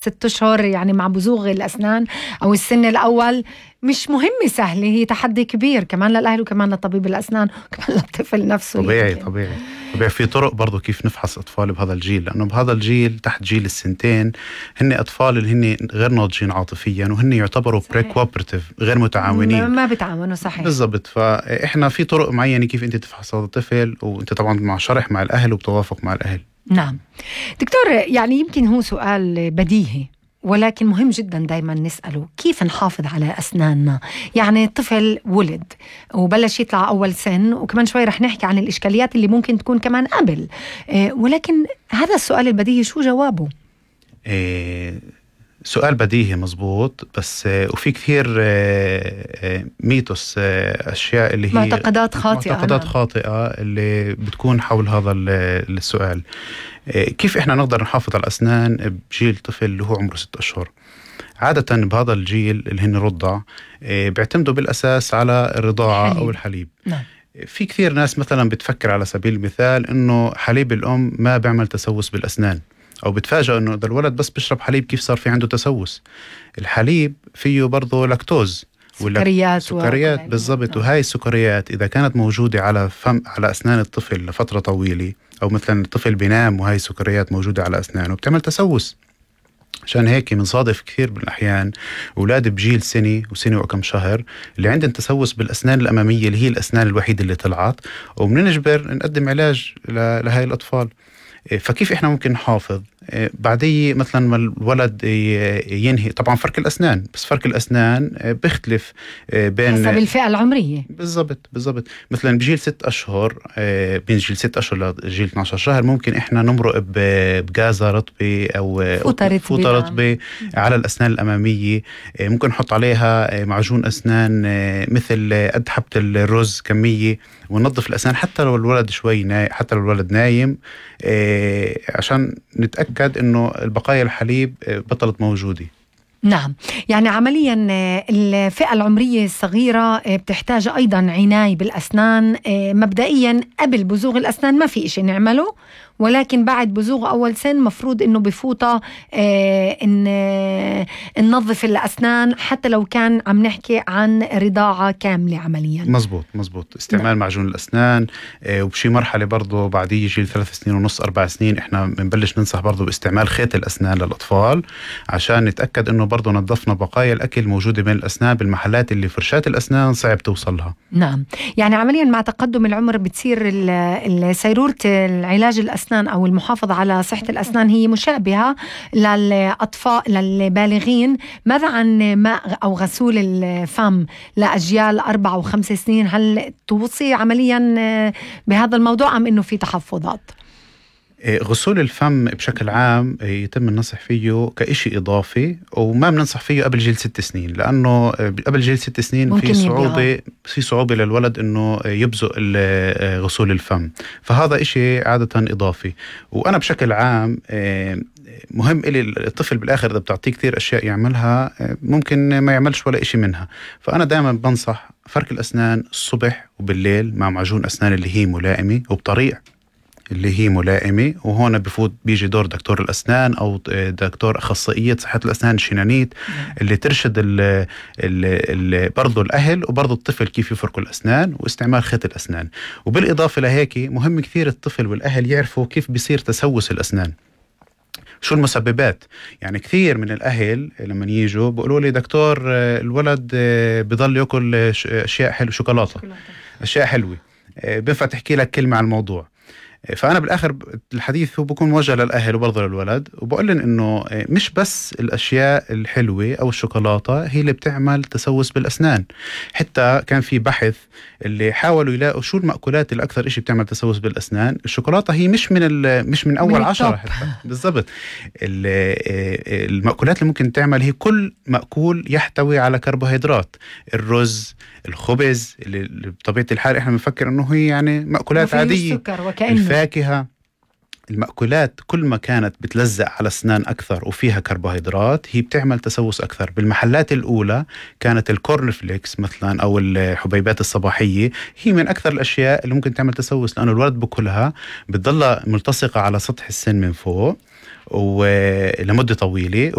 6 أشهر يعني مع بزوغ الأسنان أو السن الأول مش مهمة سهلة، هي تحدي كبير كمان للأهل وكمان لطبيب الأسنان وكمان للطفل نفسه. طبيعي في طرق برضو كيف نفحص أطفال بهذا الجيل، لأنه بهذا الجيل تحت جيل السنتين هن أطفال اللي هن غير ناضجين عاطفيا وهن يعتبروا بريكوابرتيف غير متعاونين، ما بتعاونوا. صحيح بالضبط. فإحنا في طرق معينة كيف أنت تفحص هذا الطفل، وأنت طبعا مع شرح مع الأهل وبتوافق مع الأهل. نعم دكتور، يعني يمكن هو سؤال بديهي ولكن مهم جدا دايما نسأله، كيف نحافظ على أسناننا؟ يعني الطفل ولد وبلش يطلع أول سن، وكمان شوي رح نحكي عن الإشكاليات اللي ممكن تكون كمان قبل، ولكن هذا السؤال البديهي شو جوابه؟ سؤال بديهي مزبوط، بس وفي كثير ميتوس، أشياء اللي هي معتقدات خاطئة اللي بتكون حول هذا السؤال. كيف إحنا نقدر نحافظ على الأسنان بجيل طفل اللي هو عمره 6 أشهر؟ عادة بهذا الجيل اللي هن رضع بيعتمدوا بالأساس على الرضاعة أو الحليب. نعم. في كثير ناس مثلا بتفكر على سبيل المثال إنه حليب الأم ما بيعمل تسوس بالأسنان، أو بتفاجأ إنه إذا الولد بس بيشرب حليب كيف صار في عنده تسوس. الحليب فيه برضه لاكتوز، سكريات بالضبط. وهاي السكريات إذا كانت موجودة على أسنان الطفل لفترة طويلة، أو مثلا الطفل بينام وهاي السكريات موجودة على أسنانه، بتعمل تسوس. عشان هيك بنصادف كثير بالأحيان أولاد بجيل سنة وكم شهر اللي عندهم تسوس بالأسنان الأمامية اللي هي الأسنان الوحيدة اللي طلعت، وبنجبر نقدم علاج لهاي الأطفال. فكيف إحنا ممكن نحافظ؟ بعديه مثلا ما الولد ينهي طبعا فرك الأسنان، بس فرك الأسنان بيختلف بين حسب الفئة العمرية. بالضبط. مثلا بجيل 6 أشهر، بين جيل 6 أشهر لجيل 12 شهر ممكن إحنا نمرق بغازة رطبة أو فوطة رطبة على الأسنان الأمامية. ممكن نحط عليها معجون أسنان مثل قد حبة الرز كمية، وننظف الأسنان حتى لو الولد حتى لو الولد نايم، عشان نتأكد إنه البقايا الحليب بطلت موجودة. نعم، يعني عمليا الفئة العمرية الصغيرة بتحتاج أيضا عناية بالأسنان. مبدئيا قبل بزوغ الأسنان ما في إشي نعمله، ولكن بعد بزوغ أول سن مفروض إنه بفوطة ننظف الأسنان حتى لو كان عم نحكي عن رضاعة كاملة عمليا. مزبوط. استعمال معجون الأسنان، وبشي مرحلة برضو بعد يجي 3 سنين ونص 4 سنين إحنا بنبلش ننصح برضو باستعمال خيط الأسنان للأطفال، عشان نتأكد إنه برضو نظفنا بقايا الأكل موجودة بين الأسنان بالمحلات اللي فرشات الأسنان صعب توصلها. نعم، يعني عمليا مع تقدم العمر بتصير سيرورة العلاج الأسنان أو المحافظة على صحة الأسنان هي مشابهة للأطفال للبالغين. ماذا عن ماء أو غسول الفم لأجيال 4 و5 سنين؟ هل توصي عمليا بهذا الموضوع أم إنه في تحفظات؟ غسول الفم بشكل عام يتم النصح فيه كإشي إضافي، وما بننصح فيه قبل جيل 6 سنين، لأنه قبل جيل 6 سنين في صعوبة للولد إنه يبزق غسول الفم، فهذا إشي عادة إضافي. وأنا بشكل عام مهم إلي الطفل بالآخر إذا بتعطيه كثير أشياء يعملها ممكن ما يعملش ولا إشي منها. فأنا دائما بنصح فرك الأسنان الصبح وبالليل مع معجون أسنان اللي هي ملائمة وبطريقة اللي هي ملائمة، وهون بيجي دور دكتور الأسنان أو دكتور أخصائية صحة الأسنان الشنانيت اللي ترشد برضو الأهل وبرضو الطفل كيف يفركوا الأسنان واستعمال خيط الأسنان. وبالإضافة لهيك مهم كثير الطفل والأهل يعرفوا كيف بيصير تسوس الأسنان، شو المسببات. يعني كثير من الأهل لما يجوا بيقولوا لي دكتور الولد بيضل يأكل أشياء حلوة، شوكولاتة، أشياء حلوة، بينفع تحكي لك كلمة عن الموضوع؟ فأنا بالآخر الحديث هو بيكون موجه للأهل وبرضه للولد، وبقول لهم إنه مش بس الأشياء الحلوة أو الشوكولاتة هي اللي بتعمل تسوس بالأسنان. حتى كان في بحث اللي حاولوا يلاقوا شو المأكولات اللي أكثر إشي بتعمل تسوس بالأسنان. الشوكولاتة هي مش من أول 10 حتى. بالضبط. المأكولات اللي ممكن تعمل هي كل مأكول يحتوي على كربوهيدرات، الرز، الخبز اللي بطبيعة الحال إحنا بنفكر إنه هي يعني مأكولات عادية، الفاكهة، المأكولات كل ما كانت بتلزق على الأسنان أكثر وفيها كربوهيدرات هي بتعمل تسوس أكثر. بالمحلات الأولى كانت الكورن فليكس مثلا أو الحبيبات الصباحية هي من أكثر الأشياء اللي ممكن تعمل تسوس، لأنه الولد بكلها بتضل ملتصقة على سطح السن من فوق، ولمدة طويلة،